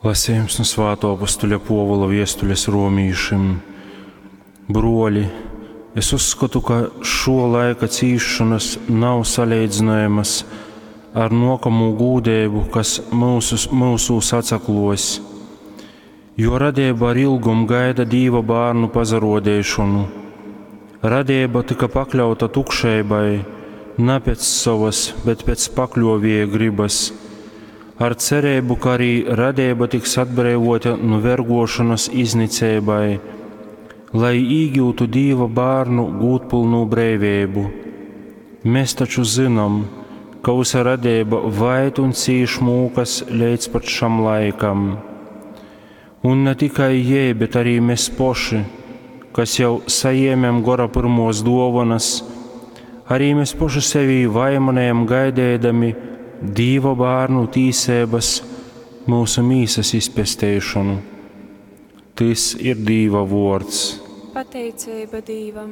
Lasījums nu Svātō apostuļa Pōvula viestules romīšim. Bruoli, es uzskotu, ka šo laika cīsšonas nav saleidzynojamas ar nōkamū gūdeibu, kas myusus, myusūs atsakluos. Jo radeiba ar ilgom gaida Dīva bārnu pasaruodeišonu. Radeiba tyka pakļauta tukšeibai, na pēc sovas, bet pēc pakļuovieja grybas, ar cereibu, ka arī radeiba tiks atbreivota nu vergošanas izniceibai, lai īgiutu Dīva bārnu gūdpylnu breiveibu. Mēs taču zinām, ka visa radeiba vaid un cīš mūkas leidz pat šam laikam. Un ne tikai jei, bet arī mēs poši, kas jau sajēmēm gora pirmos dovanas, arī mēs poši sevī vaimanējam gaidēdami Dīva bārnu tīsības mūsu mīsas izpesteišonu. Tys ir Dīva vuords. Pateiceiba Dīvam.